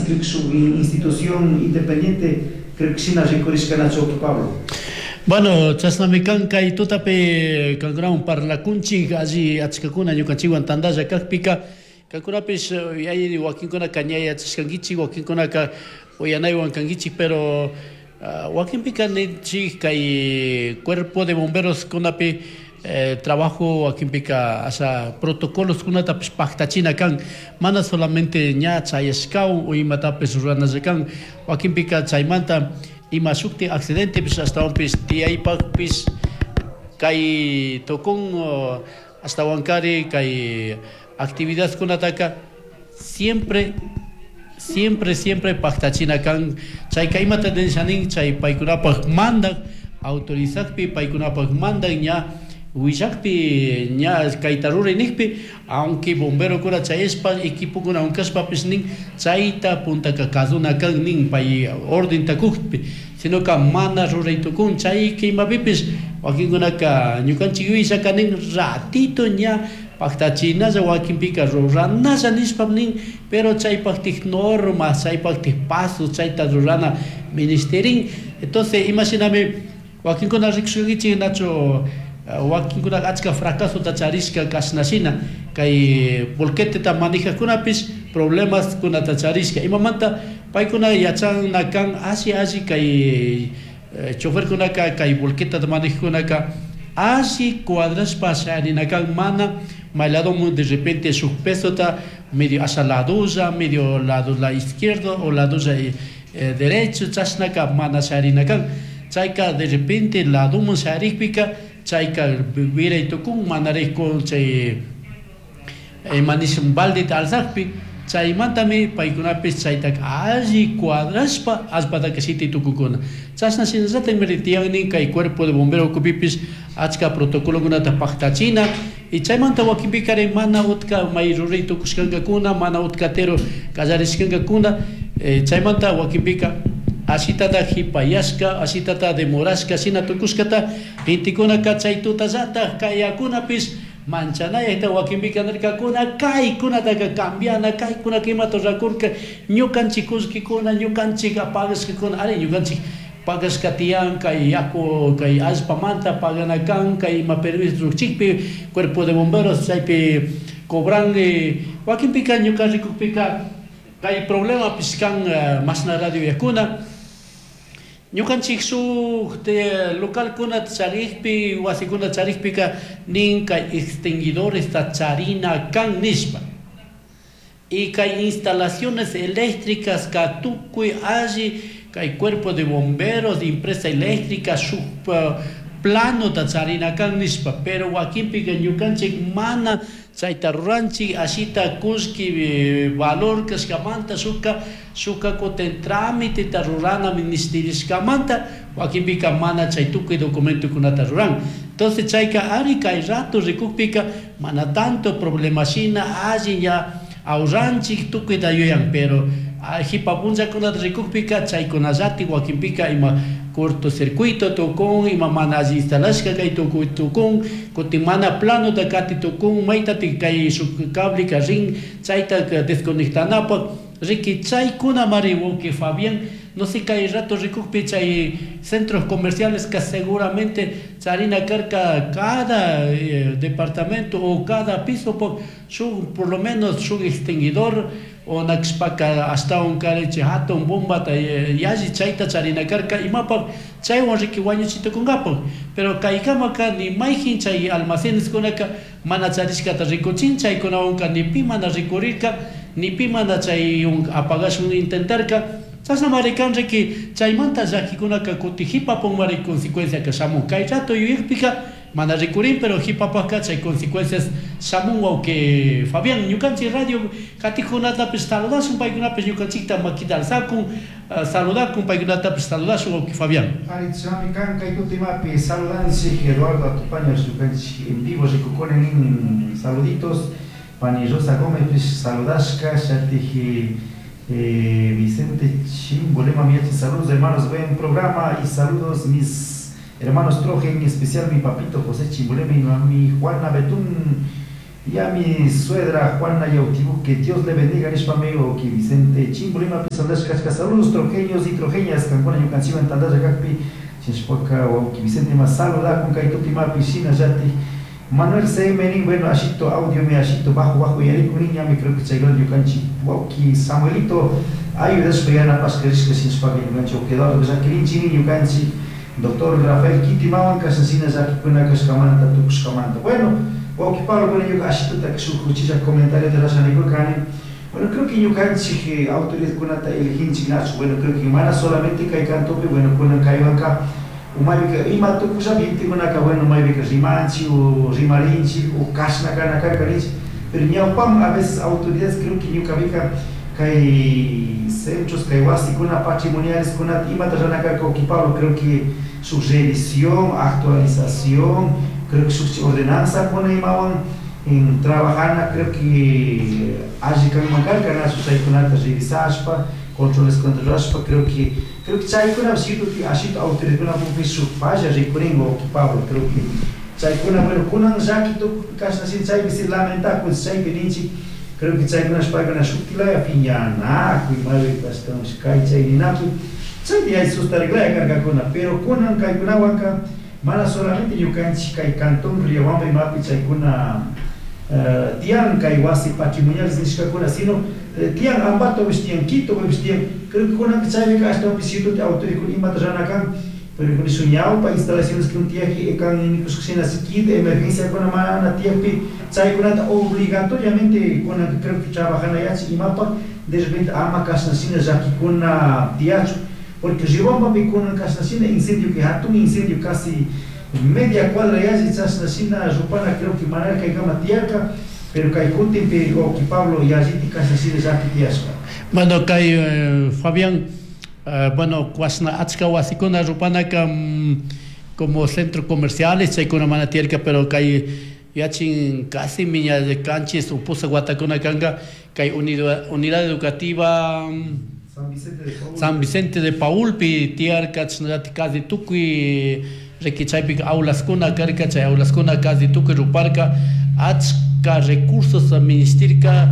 Creo que shuk institución independiente, creo que shina rikurishka, nachu, Pablo? Bueno, chashnami kan. Kay tutapi kankunawan parlakunchik. Alli achkakuna ñukanchikwan tantalla kakpika, kankunapish yalli wakinkunaka ña yachashkankichik, wakinkunaka uyanaywan kankichik, pero wakinpika ninchik kay cuerpo de bomberos kunapi trabajo wakinpika asha protocolos kunatapish paktachina kan. Mana solamente ña chayashkawan o imatapish ruranalla kan. Wakinpika chaymanta ima shukti accidentepish ashtawanpish tiyaypakpish kay tukun. Ashtawankari kay actividadkunataka siempre, siempre, siempre paktachina kan. Chayka imata nishanin, chay paykunapak mandak autorizakpi, paykunapak mandak ña willakpi, ña kayta ruray nikpi, aunque bomberokuna chayashpa equipokuna unkashpapish nin, chayta puntaka kasuna kan nin pay ordenta kukpi, sinoka mana ruray tukun. Chay imapipish wakinkunaka ñukanchik yuyashaka nin ratito ña paktachinalla, wakinpika ruranalla nishpa nin, pero chaypaktik normas, chaypaktik pasos, chayta rurana ministerin. Entonces imashinami wakinkuna rikushkankichik, nachu, wakinkuna achka fracasota charishka kashna shina kay volqueteta manejakunapish problemas kunata charishka. Imamanta? Paykuna yachana kan alli alli kay choferkunaka, kay volquetata manejkunaka alli cuadrashpa sharina kan, mana may ladomun de repente shuk pesota medio hacia ladolla, medio lado la izquierdo o ladolla derecho, chashnaka mana sharina kan. Chayka de repente ladomun sharikpika chayka wiray tukun, manarikun chay manishun baldeta alzakpi. Chaymantami paykunapish chaytaka alli cuadrashpa allpataka shiti tukukuna. Chashna shinallatakmi tiyan kay cuerpo de bombero ukupipish achka protocolokunata paktachina. Y chaymanta wakinpikari mana utka may ruray tukushkankakuna, mana utkatero kallarishkankakuna. Chaymanta wakinpika ashitata hipayashka, ashitata demorashka shina tukushkata gentekunaka chay tutallatak kayakunapish manchanayta wakinpika nirkakuna kaykunataka cambiana, kaykunaka imata rurakurka, ñukanchik kullkikuna, ñukanchik pagashkakuna, ari ñukanchik pagashka tiyan kay yaku, kay allpamanta pagana kan, kay ima permiso rukchikpi cuerpo de bomberos chaypi cobran. Wakinpika ñuka rikukpika kay problemapish kan, mashna radio yakuna ñukanchik shuk localkunata charikpi, wasikuna charikpika nin kay extinguidoresta charina kan nishpa, y kay instalaciones eléctricas ka tukuy alli kay cuerpo de bomberos, empresa eléctrica shuk planota charina kan nishpa, pero wakinpika ñukanchik mana chayta ruranchik. Ashita kullki valor kashkamanta, shuka shuka kutin tramiteta rurana ministerishkamanta wakinpika mana chay tukuy documentokunata ruran. Entonces chayka ari kay rato rikukpika mana tanto problema shina alli ña ahorranchik tukuyta yuyan, pero hipa punllakunata rikukpika chaykunallati wakinpika ima cortocircuito tukun, ima mana alli instalashka kay tukuy tukun, kutin mana planota kati tukun, maytatik kay shuk cableka rin chayta desconectanapak. Riki chaykuna mari, wawki Fabián, no sé, kay rato rikukpi chay centros comerciales que seguramente charina karka cada departamento o cada piso por, shuk, por lo menos shuk extinguidor o nakshpaka ashtawan karichi hatun bombata yalli chayta charina karka imapak chaywan riki wañuchitukunkapak. Pero kaykamaka ni mayjin chay almacenes kunaka mana charishkata rikuchin. Chaykunawanka ni pi mana rikurirka, ni pi mana chay apagashun intentarka. Chashnamari kan riki. Chaymanta llakikunaka kuti hipapun consecuencia ka shamun. Kay rato yuyakpika mana rikurin, pero hipapaka chay consecuencias shamun, wawki Fabián. Ñukanchik radio katikkunatapish saludashun, paykunapish ñukanchikta makita alzakun, saludakun, paykunatapish saludashun, wawki Fabián. Ari, chami kan kay tutimapi saludanchik Eduardo Atupaños, ñukanchik en vivo rikukuni nin, saluditos. Pani Rosa Gómez saludashka, shatiji Vicente Chimbolema Miachi, saludos hermanos, buen programa y saludos mis hermanos Troje, en especial mi papito José Chimbolema y mami Juana Betún. Y a mi suegra Juana Yautibu, que Dios le bendiga, nishpami wawki Vicente Chimbulimapi saludashka. Saludos trojeños y trojeñas, kankuna ñukanchikwan tantalla kakpi, shinashpaka wawki Vicente ma saludakun kay tutimapi. Shinallatik Manuel C. Menin, bueno, ashito audio mi ashito bajo bajo yarikun niñami, creo que chaykuna ñukanchik wawki Samuelito ayudashpa yanapashka rishka. Shinashpaka ñukanchik wawki Eduardo llakirinchik ñukanchik doctor Rafael Kitimawan kashan shina llakikuna kashkamanta tukushkamanta. Bueno, wawki Pablo, bueno, ñuka ashituta shuk uchilla comentario rurasha nikurkani. Bueno, creo que ñukanchik autoridadkunata eliginchik, nachu? Bueno, creo que mana solamente kay cantopi, bueno, kunan kaywanka umaypika ima tukushapi gentekunaka, bueno, maypika rimanchik o rimarinchik o kashna kana karka ninchik, pero ñawpaman a veces autoridades, creo que ñukapika kay centros, kay wasikuna patrimoniales kunata imata rurana karka, wawki Pablo? Creo que shuk revisión, actualización, creo que shuk ordenanza kuna imawan en trabajana, creo que alli kanman karka, nachu? Chaykunata revisashpa, controles controlashpa, creo que chaykuna cierto que ashito autoridadkuna shuk falla rikurin, wawki Pablo. Creo que chaykuna, bueno, kunan llaki tukuy kashna shi chaypi si lamentakun, chaypi ninchik. Creo que chaykuna paykuna shutilaya piñanakuy maypi ashtawanpish kay chay ninakuy chaypi hay sustariklaya karkakuna, pero kunan kaykunawanka mana solamente ñukanchik kay cantón Riobamba imapi chaykuna tiyan kay wasi patrimoniales nishkakuna, sino tiyan Ambatopish, tiyan Quitopish tiyan. Creo que kunanka chaypika ashtawanpish cierto autoridadkuna imata rurana kan, pero nishun ñawpa instalaciones que tiyakpi kan nikushka shina kit emergenciakuna mana tiyakpi, chaykunata obligatoriamente kunanka creo que trabajana yachik imapak de repente ama kashna shina llakikuna tiyachun, porque Riobambapi kunan kashna shina incendio, que hatun incendio, casi media cuadra yalli chashna shina rupana, creo que manara kaykama tiyarka, pero kay kutinpi, wawki Pablo, yalliti kashna shina llaki tiyashka. Bueno, kay Fabián, bueno, kuashna achka wasikuna rupanaka como centro comerciales chaykuna mana tiyarka, pero kay yachin casi miña de 7 o 8 watakuna kanka kay unidad educativa San Vicente de Paul. San Vicente de Paulpi tiyarka, chashnallati casi tukuy riki chaypika aulaskuna karka, chay aulaskuna casi tukuy ruparka, achka recursos ministirka.